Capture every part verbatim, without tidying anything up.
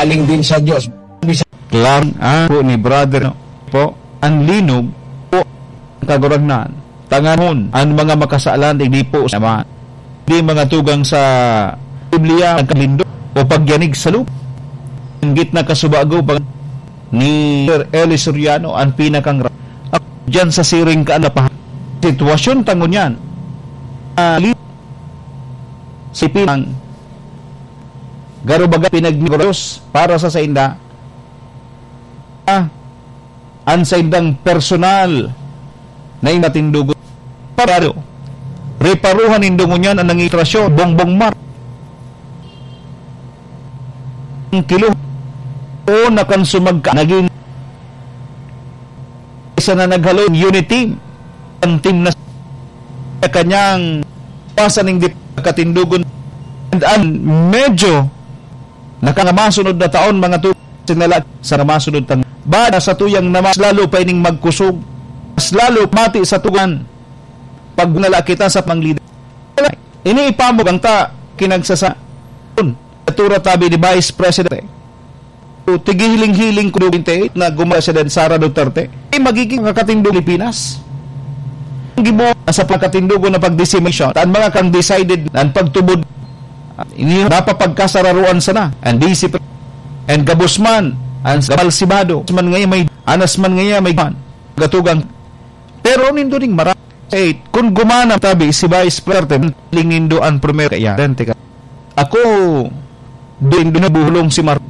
Galing din sa Diyos. Klaro ang po ni brother, no? Po, ang linog po ang Kagurangnan. Tanganon, ang mga makasalan, igdi po sa Ama. Di mga tugang sa Biblia, nagkalindo o pagyanig sa lupa. Ang gitna kasubago pag ni Sir Eli Soriano, ang pinakang ra-, diyan sa siring ka na pa. Sitwasyon tangon yan. Ah, li-, si Pinang, garo baga pinagmigros para sa sainda. Ah, an saindang personal na inatindugon. Parado. Reparuhan nindo ngunyan an nangitrasyon, Bongbong Mar. Ang kilo. O nakan sumagka, naging isa na naghalo, unity team. Ang team na sa kanyang pasa ning dip-, katindugon. And, and medyo nakangamasunod na taon, mga tu-, sinala sa namasunod tang-, ba na sa tuyang na mas lalo pa ining magkusog, mas lalo mati sa tugan, pag nala kita sa panglida. Ini ipamog ang ta-, kinagsasa-, natura tabi ni Vice Presidente. Tigihiling-hiling ko twenty-eight na guma-, President Sara Duterte. Eh, magiging kakatindog Pilipinas. Ang gibo sa pagkatindugo na pagdecimation, ang mga kang decided ang pagtubod, ini napapagkasararuan sana, ang D C P, ang gabos man, ang gabalsibado, man ngayon may, anas man ngayon may man, gatugang. Pero nindo ning mara-, eh, kung gumana tabi si Vice President, ling nindo ang primer kaya, dente ka. Ako, din, din nabuhulong si Mar-,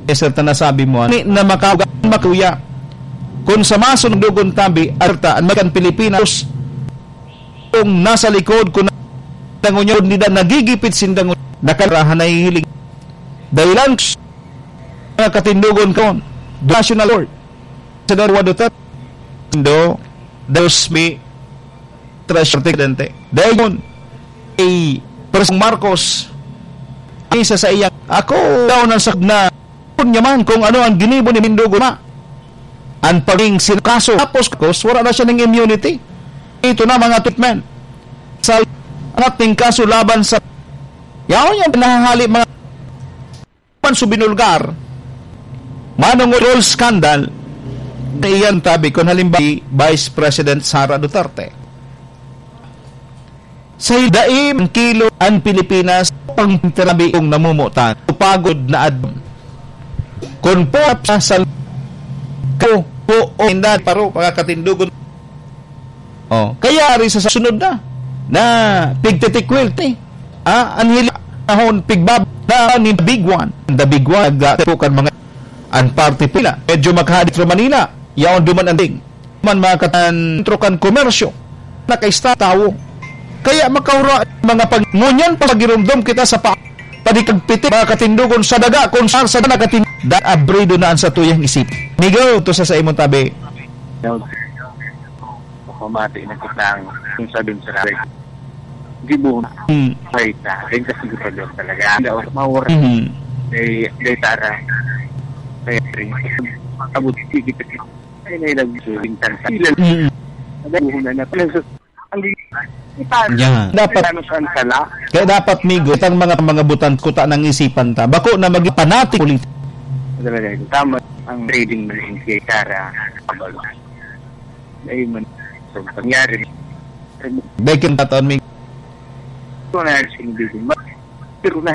eh, sir, ta nasabi mo, ani na makauga-, makuya. Kung sa masunod dugon tabi, arta, an makan Pilipinas, kung nasa likod, kung dangon niya, nagigipit sindang nakarahan na hihiling. Dahilan, mga katindugon kon, National Court, Senador Duterte, do, dos mi, Treasury Presidente. Dahil yun, kay Presidente Marcos, isa sa iyang, ako daw nang sa na, kung niya man kung ano ang ginibo ni Mindugo ma, ang paging sin-, kaso, tapos, tapos, wala na siya ng immunity. Ito na, mga treatment. Sa ating kaso laban sa, yaon yung pinahahali, mga man su binulgar, manong oil scandal, iyan tabi kun halimbawa si Vice President Sara Duterte. Sa daim kilo ang Pilipinas, pang tinabi kong namumutan, pagod na adlaw. Kun po sa sal-, ko, po, o, inda, paro, mga katindugon. Oh, kaya ari sa sunod na, na pigtitikwil, eh. Ah, ang hili-, ahon, pigbab-, na ni the big one. The big one, nagda-, po kan mga, ang party pila. Medyo maghadit ro Manila, yaon duman ang ding. Man mga katan, trokan komersyo, nakaista tawo. Kaya makaura, mga pag-, ngunyan pa magirumdom kita sa pa-, padikagpiti, mga katindugon sa daga, kung saan sa nakatin-, da-, abrido na ang satuyang isip. Migo, to sa, sa imong tabi. Pamati na kitang yung sabing sa rabbit. Di mo na. Hmm. Ay, ta. Ay, kasi di pa doon talaga. Hindi ako mawara. Mhm. Ay, ay, tara. Ay, rin. Abot, sige, sige. Ay, na ilang suling tansa. Ilan? Mhm. Ang buhon na natin. Ang li-, Yan. Dapat ano saan sala? Kaya dapat, Migo, itang mga, mga butan, kuta ng isipan ta. Bako na maging panatik ulit. Talaga, ito. Tama ang trading ng kay Tara. Kabalo. Ayun man. So, nangyari. Dahil kang tataon, Migo. Ito na yung sinibigin. Pero na,